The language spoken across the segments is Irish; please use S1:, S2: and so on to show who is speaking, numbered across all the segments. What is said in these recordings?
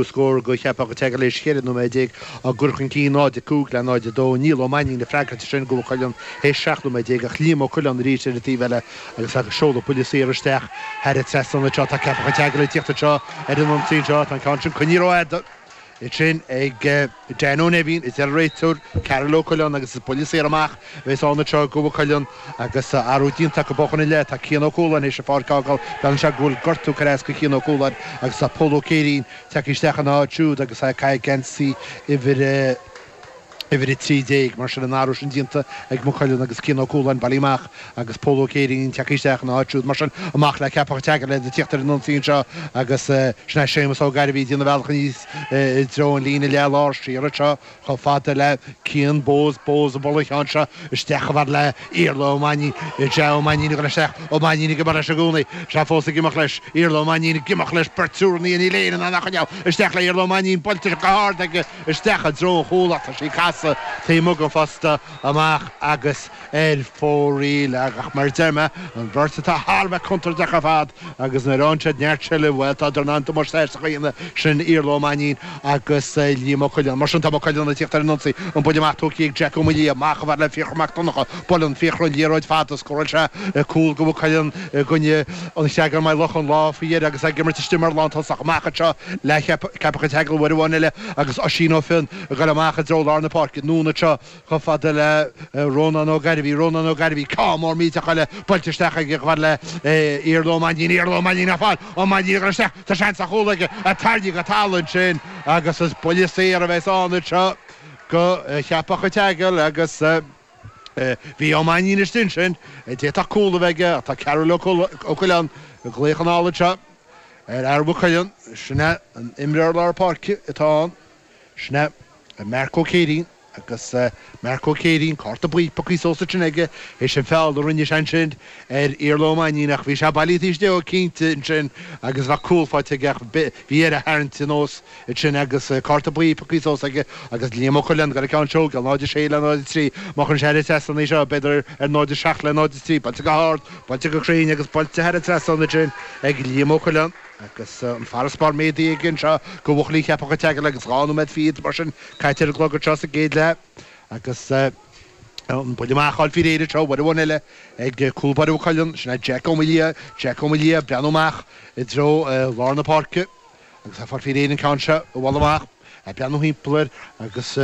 S1: Scór do Cheapach an tSeagail théis 14 nóiméad á gcur chun cinn 0-5 le 0-2. Niall Ó Mainnín ag freagairt air sin do Mhaigh Cuilinn théis 17 nóiméad ach Liam Ó Coileáin arís ar an taobh eile agus ag seoladh buille saor isteach thar an trasnán anseo. Tá Ceapach an tSeagail ag tíocht anseo ar an ionsaí anseo. Tá an ceann sin coinnithe rófhada ansin ag Dan Ó Neimhín, a deir an réiteoir Karol Ó Coileáin agus is buille saor amach a bheas ann anseo do Mhaigh Cuilinn agus athrú déanta acu chun an leith. Tá Cian Ó Cualáin théis an pháirc a fhágáil. Breathnaíonn sé go bhfuil gortú curtha as do Chian Ó Cualáin agus tá Pól Ó Céirín tagtha isteach ina áit siúd agus é ag caitheamh geansaí uimhir uimhir 13. Mar sin an athrú sin déanta ag Maigh Cuilinn agus Cian Ó Cualáin bailithe amach agus Pól Ó Céirín tagtha isteach ina áit siúd. Mar sin amach le Ceapach an tSeagail iad ag tíocht ar an ionsaí anseo agus sin é Séamus Ó Gairbhí ag déanamh a bhealach aníos i dtreo an líne leath lár siar anseo Chomh fada le Cian Bowes, Bowes ag bualadh an cheann seo isteach chomh fada le Iarla Ó Mainnín, Sea, Ó Mainnín ag dul isteach, Ó Mainnín ag imeacht leis i gcónaí, sea, fós ag imeacht leis, Iarla Ó Mainnín ag imeacht leis, beirt triúr ina dhiaidh, níl éinne in ann é a choinneáil, isteach le Iarla Ó Mainnín, buailte go hard aige isteach i dtreo an chúil ach tá sí ag casadh taobh amuigh den phosta amach agus ar fóraoil. Ach mar a deir mé, an bheirt atá thar a bheith contúirteach ar fad agus nuair a fhaigheann siad neart seilbh, bhuel, tá in ann damáiste a dhéanamh, sin Iarla Ó Mainnín agus Liam Ó Coileáin. Mar sin, tá Maigh Cuilinn ag tíocht ar an ionsaí, an buille amach tógtha ag Jack Ó Maolaodha, amach chomh fada le Fiachra Mac Donncha, buaileann Fiachra an liathróid fada, scóráil sé cúl do Mhaigh Cuilinn i gcoinne an Chreagáin Maigh Locha an lá faoi dheireadh agus é ag imirt istigh mar lántosach. Amach anseo le Ceapach an tSeagail uair amháin eile agus Oisín Ó Fionn ag dul amach i dtreo lár na páirce. Anonn anseo Chomh fada le Rónán Ó Gairbhí, Rónán Ó Gairbhí, ceann mór millteach eile buailte isteach aige chomh fada le Iarla Ó Mainnín, Iarla Ó Mainnín á fáil, Ó Mainnín ag dul isteach, tá seans ar chúl aige, tarraingthe go talamh ansin agus is buille saor a bheas ann anseo do Cheapach an tSeagail agus bhí Ó Mainnín istigh ansin, d'fhéadfadh cúl a bheith aige ach tá Cearbhall Ó Coileáin ag glaoch anall anseo ar fhear Mhaigh Cuilinn, sin é an imreoir lár páirce atá ann, sin é Marc Ó Céirín. Agus Marc Ó Céirín, cárta buí pioctha suas ansin aige théis an feall a rinne sé ansin ar Iarla Ó Mainnín ach bhí sé bailithe taobh istigh dhó cinnte ansin agus bheadh cúl faighte aige ach bhí air a tharraingt anuas ansin agus cárta buí pioctha suas aige agus Liam Ó Coileáin ag dul an ceann seo a thógáil, 0-6 le 0-3. Má chuireann sé thar an trasnán í seo b'fhéidir ar 0-7 le 0-3. Buailte go hard, buailte go cruinn agus buailte thar an trasnán ansin ag Liam Ó Coileáin. Agus an farasbarr méadaithe aige anseo do bhuachaillí Cheapach an tSeagail agus 2 nóiméad fichead mar sin caite ar an gclog anseo sa gcéad leath agus an buille amach á fháil faoi réir anseo uair amháin eile ag cúl báire Mhaigh Cuilinn, sin é Jack Ó Maolaodha, Jack Ó Maolaodha ag breathnú amach i dtreo lár na páirce agus é ag fáil faoi réir an ceann seo a bhualadh amach. Ag breathnú thimpeall air agus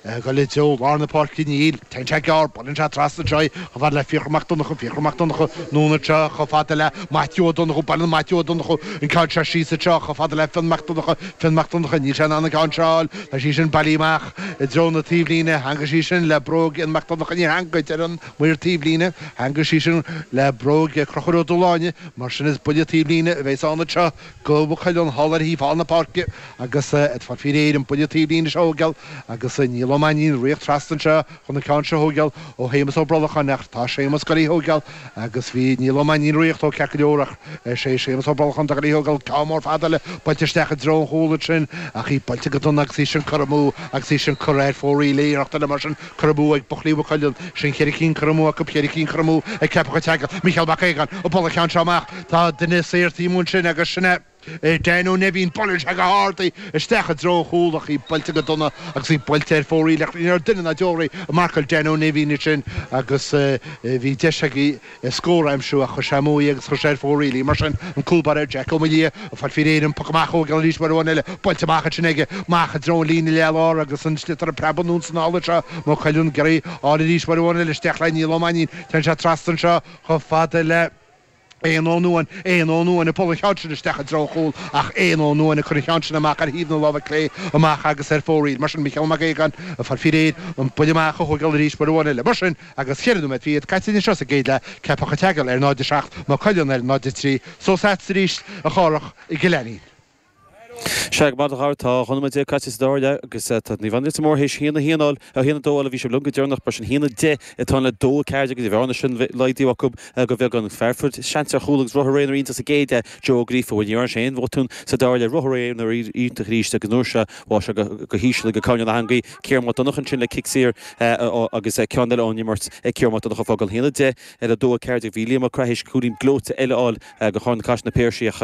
S1: ag dul i dtreo lár na páirce níl. Téann sé gearr, buaileann sé trasna anseo í chomh fada le Fiachra Mac Donncha, Fiachra Mac Donncha anonn anseo chomh fada le Maitiú Ó Donnchú, buaileann Maitiú Ó Donnchú an ceann seo síos anseo chomh fada le Fionn Mac Donncha, Fionn Mac Donncha, níl sé in ann an ceann seo a fháil, tá sí sin bailithe amach i dtreo na taobhlíne, theangaigh sí sin le bróg Fhionn Mac Donncha, níor theangaigh ar an maor taobhlíne, theangaigh sí sin le bróg Chonchúir Ó Dúshláine, mar sin is buille taobhlíne a bheas ann anseo. Do Mhaigh Cuilinn thall ar thaobh thall na páirce agus ag fáil faoi réir an buille taobhlíne seo a thógáil agus Niall Ó Mainnín ag ritheacht trasna anseo chun an ceann seo a thógáil ó Shéamus Ó Brolacháin ach tá Séamus ag dul í thógáil agus bhí Niall Ó Mainnín ag ritheacht dó ceart go leor ach is é Séamus Ó Brolacháin atá ag dul í thógáil ceann mór fada eile buailte isteach i dtreo an chúil ansin ach í buailte go dona agus í sin curtha amú agus í sin curtha ar fóraoil iarracht eile mar sin curtha amú ag buachaillí Mhaigh Cuilinn sin cheithre cinn curtha amú acu cheithre cinn curtha amú ag Ceapach an tSeagail Mícheál Mac Aogáin ag bualadh an ceann seo amach Tá duine saor taobh amuigh ansin agus sin é Dan Ó Neimhín. Buaileann sé go hard í isteach i dtreo an chúil ach í buailte go dona agus í buailte ar fóraoil ach ní raibh duine ná deoraí ag marcáil Dan Ó Neimhín ansin agus bhí deis aige scór a aimsiú ach chuir sé amú í agus chuir sé ar fóraoil í. Mar sin, an cúl báire Jack Ó Maolaodha ag fáil faoi réir an poc amach a thógáil arís uair amháin eile. Buailte amach ansin aige amach i dtreo an líne leath-lár agus an sliotar ag preabadh anonn is anall anseo. Maigh Cuilinn ag iarraidh a fháil arís uair amháin eile isteach le Niall Ó Mainnín. Téann sé trasna anseo chomh fada le. Éanna Ó Nuadháin, Éanna Ó Nuadháin ag bualadh an cheann sin isteach i dtreo an chúil ach Éanna Ó Nuadháin ag cur an cheann sin amach ar thaobh na láimhe clé amach agus ar fóraoil. Mar sin, Mícheál Mac Aogáin ag fáil faoi réir an buille amach a thógáil arís uair amháin eile. Mar sin, agus cheithre nóiméad fichead caite anseo sa gcéad leath, Ceapach an tSeagail ar 0-7, Maigh Cuilinn ar 0-3. Suas leatsa arís, a Chárthach, i gCill Ainnín.
S2: Sea, go maith a Dhara, tá 12 nóiméad caite sa dara leath agus tá Naomh Anna Leitir Móir théis 1, 1 a fháil, 1, 2 a fháil a bhí sibh liom go deireanach, mar sin 1, 10 atá ann le 2, 14 agus an bhearna sin laghdaithe acu go beagán. Fear a fuair seans ar chúl agus ruathar aonair iontach sa gcéad leath, Joe Ó Gríofa, bhuel ní dhearna sé aon bhotún sa dara leath, ruathar aonair iontach arís agus an uair seo bháigh sé go híseal ag coirnéal na heangaí. Ciarán Mac Donncha ansin le cic saor agus ceann eile ón imirt ag Ciarán Mac Donncha fágáil 1, 10 ar 2, 14. Bhí Liam Mac Craith théis cúilín gleoite eile a fháil do Charna Caiseal Na Piarsaigh ach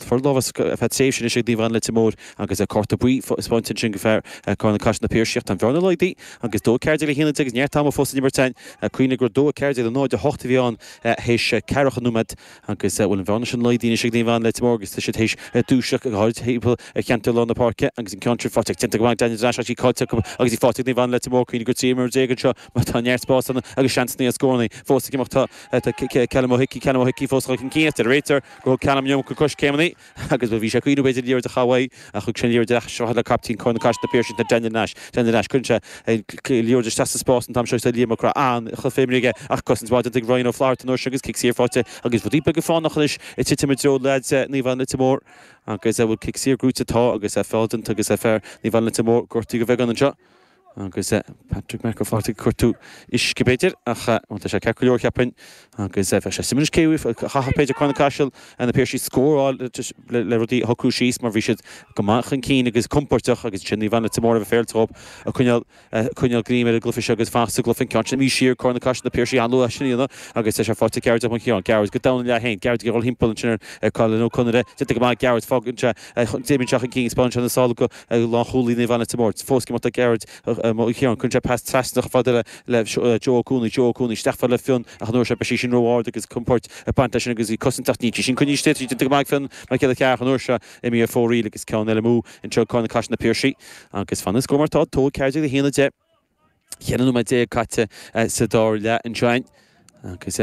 S2: fuair lámh as ar feadh. tréimhse anois ag Naomh Anna Leitir Móir agus cárta buí spáinte ansin go fear Carn na Caiseal Na Piarsaigh. Tá an bhearna laghdaithe agus 2 14 le 1 10 agus neart ama fós san imirt againn. Cuimhnigh gur 2 14 le 0 8 a bhí ann théis ceathracha nóiméad agus bhfuil an bhearna sin laghdaithe anois ag Naomh Anna Leitir Móir agus tá siad théis dúiseacht go háirid timpeall ar cheantar lár na páirce agus an ceann sin faighte déanta go maith ag Daniel Nash ach í caillte acu agus í faighte ag Naomh Anna Leitir Móir. Cuimhnigh gur 13 imreoir anseo mar tá neart spáis ann agus seansanna ar scóranna fós ag imeacht. Tá Callum Ó hIcí, Callum Ó hIcí fós chun cinn ach deir an réiteoir gur thug Callum an iomarca coiscéimeanna agus bhuel bhí sé ag cuimhniú b'fhéidir liathróid a chaitheamh uaidh ach thug sé an liathróid ar ais le caiptín Corn na Caiseal Na Piarsaigh ná Daniel Nash. Daniel Nash, cuireann sé an liathróid isteach sa spás an t-am seo agus tá Liam Mac Craith an-chluiche imeartha aige ach cosaint mhaith déanta ag Ryan Ó Flatharta an uair seo agus cic saor faighte agus rudaí beaga fánach anois ag titim i dtreo leaids Naomh Anna Leitir Móir agus bhfuil cic saor gnóite tá agus feall déanta agus fear Naomh Anna Leitir Mór gortaithe go bheagán anseo. Agus Patrick Mac Ó Flatharta ag cuartú uisce b'fhéidir, ach bhuel tá sé ceart go leor cheapfainn. Agus bheadh sé suimiúil anois cé a chaithfeadh b'fhéidir Corn na Caiseal na Piarsaigh scór a fháil le rudaí a shocrú síos mar bhí siad go maith chun cinn agus compordach agus ansin Naomh Anna Leitir Móir a bheith féaráilte dhóibh ag coinneáil coinneáil greim ar an gcluiche seo agus fanacht sa gcluiche an ceann sin imithe siar Corn na Caiseal na Piarsaigh an-luath sin a dhéanamh agus tá sé faighte ag Gearóid Ó Ciaráin. Gearóid go domhan ina leath féin. Gearóid ag dul thimpeall ansin ar Colin Ó Conaire. Déanta go maith Gearóid fágann sé d'imigh sé chun cinn spáineann sé na sála go lánchúlaí Naomh Anna Leitir Móir. Fós ag imeacht ag Gearóid Ó Ciaráin. Cuireann sé pas trasna chomh fada le Joe Ó Cuanaigh. Joe Ó Cuanaigh isteach fad le Fionn ach an uair seo beidh sí sin ró-ard agus compord ag baint leis sin agus í cosaint ach níl sí sin coinnithe istigh. Tá sí déanta go maith ag Fionn Mac Giolla Chearra an uair seo imithe ar fóraoil agus ceann eile amú anseo ag Corn na Caiseal Na Piarsaigh agus fanann an scór mar atá, 2 14 le 1 10. 14 nóiméad caite sa dara leath anseo againn agus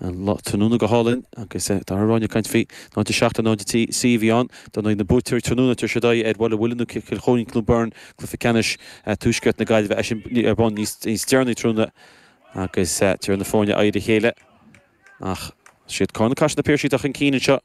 S2: an lá tráthnóna go hálainn agus Dara Ráine ag caint faoi 0 7 0 3 a bhí ann. Dar ndóigh na buaiteoirí tráthnóna tabharfaidh siad aghaidh ar Bhaile an Mhuilinn nó Cill Chóilín Cluain Bheirn cluiche ceannais Tuaisceart na Gaillimhe é sin ar bun níos deireanaí tráthnóna agus tabharfaidh na foirne aghaidh ar a chéile. Ach is iad Corn na Caiseal Na Piarsaigh atá chun cinn anseo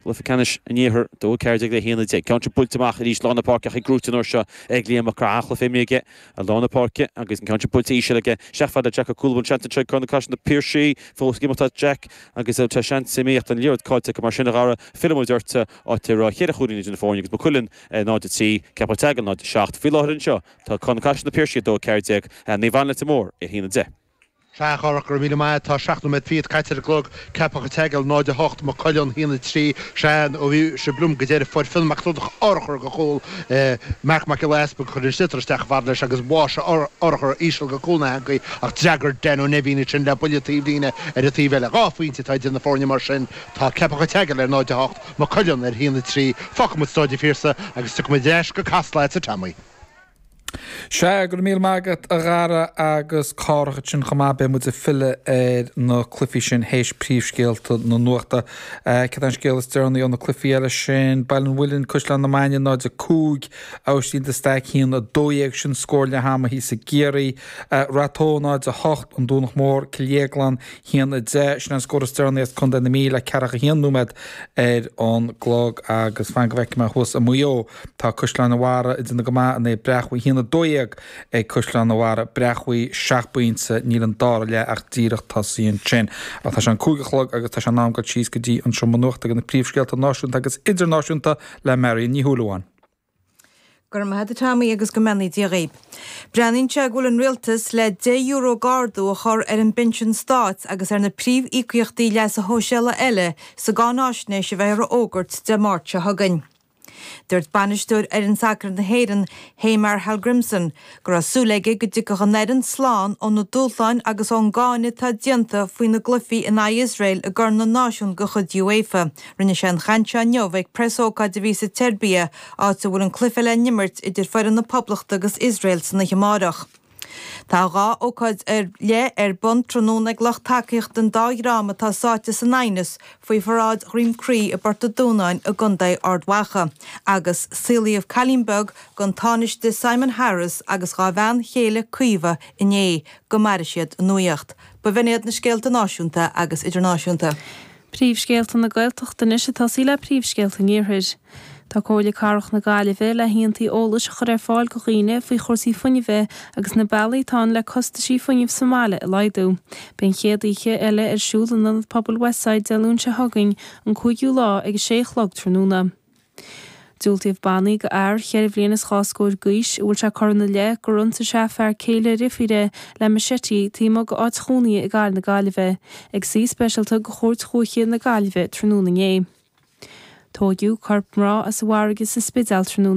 S2: i gcluiche ceannais an Iarthair, 2 14 le 1 10. Ceann seo buailte amach arís lár na páirce ach í gnóite an uair seo ag Liam Mac Craith. An-chluiche imeartha aige i lár na páirce agus an ceann seo buailte íseal aige. Isteach fad le Jack Ó Cúláin seans anseo ag Corn na Caiseal Na Piarsaigh. Fós ag imeacht tá Jack agus tá seans imithe ach an liathróid caillte acu mar sin a Dhara. Fillfidh muid ort áit a raibh cheithre chúilín idir na foirne agus Maigh Cuilinn 0 3, Ceapach Teagail 0 7. Faoi láthair anseo tá Corn na Caiseal Na Piarsaigh 2 14, Naomh Anna Leitir Móir 1 10.
S1: Sea, a Chárthach, go raibh míle maith. Tá 7 nóiméad fichead caite ar an gclog. Ceapach an tSeagail, 0 8, Maigh Cuilinn, 1 3. Sea, ó bhí sibh liom go deireadh, fuair Fionn Mac Donncha urchar go chúl. Marc Mac Giolla Easpaig chuir an sliotar isteach chomh fada leis agus bháigh sé urchar íseal go cúl na heangaí ach d'fhreagair Dan Ó Neimhín ansin le buille taobhlíne ar an taobh eile. Dhá phointe atá idir na foirne mar sin. Tá Ceapach an tSeagail ar 0 8, Maigh Cuilinn ar 1 3. Fágfaidh muid Stáid an Phiarsaigh agus tiocfaidh muid ar ais go Casla agatsa Tommy.
S3: Sea, go raibh míle maith agat, a Dhara, agus Cárthach ansin chomh maith. Beidh muid ag filleadh ar na cluichí sin théis príomhscéalta na nuachta. Céard é an scéal is deireanaí ó na cluichí eile sin? Baile an Mhuilinn, Caisleán na Mainge 0, 5, Aibhistín de Staic 1, 12, sin scór leath ama thíos i gCiarraí. Rath Tó 0, 8, An Domhnach Mór, Cill Dhéagláin 1, 10, sin an scór is deireanaí as Contae na Mí le ceathracha haon nóiméad ar an gclog agus fan go bhfeicfidh mé thuas i Maigh Eo. Tá Caisleán an Bharraigh ag déanamh go maith in aghaidh Breac Bhuí 1-12 ag Caisleán an Bharraigh, Breac Bhuí 7 bpointe, níl an dara leath ach díreach tosaithe ansin. Ach tá sé an 5 a chlog agus tá sé in am dul síos go dtí an seomra nuachta do na príomhscéalta náisiúnta agus idirnáisiúnta le Marion Ní Shúilleabháin.
S4: Go raibh maith agat a Tommy agus go mbeannaí Dia dhaoib. Breathnaíonn sé go bhfuil an rialtas le €10 d'ardú a chur ar an bpinsean stáit agus ar na príomh-íocaíochtaí leasa shóisialaigh eile sa gcáináisnéis a bheifear a fhógairt Dé Máirt seo chugainn. Dúirt bainisteoir fhoireann sacair na hÉireann, Heimir Hallgrímsson, go raibh súil aige go dtiocfadh an fhoireann slán ó na dúshláin agus ón gcáineadh atá déanta faoi na gcluichí in aghaidh Iosrael i gCorn na Náisiún de chuid UEFA. Rinne sé an chaint seo inniu ag preasócáid a bhí sa tSeirbia, áit a bhfuil an cluiche le n-imirt idir foireann na Poblachta agus Iosrael san oíche amárach. Tá 2 ócáid ar leith ar bun tráthnóna ag lucht tacaíochta an dá dhream atá sáite san aighneas faoi pharáid Dhroim Crí i bPort a' Dúnáin i gContae Ard Mhacha agus saolaíodh cailín beag don Tánaiste Simon Harris agus dhá bhean chéile Caoimhe inné. Go maire siad a nuaíocht. B'in iad na scéalta náisiúnta agus idirnáisiúnta.
S5: Príomhscéalta na Gaeltachta anois ag tosaí le príomhscéalta an Iarthair. Tá Comhairle Cathrach na Gaillimhe le haontaí eolais a chur ar fáil go dhaoine faoi chúrsaí fuinnimhe agus na bealaí atá ann le costaisí fuinnimh sa mbaile a laghdú. Beidh an chéad oíche eile ar siúl in Ionad Pobail Westside Dé Luain seo chugainn, an 5ú lá, ag a sé a chlog tráthnóna. Diúltaíodh bannaí go fhear cheithre bhliain is dhá scór d'aois a bhfuil sé curtha ina leith gur ionsaigh sé fear céile a dheirfíre le machete taobh amuigh d'áit chónaithe i gcathair na Gaillimhe, ag suí speisialta de Chúirt Dhúiche na Gaillimhe tráthnóna inné. Tóigeadh corp mná as an bhfarraige sa Spidéal tráthnóna.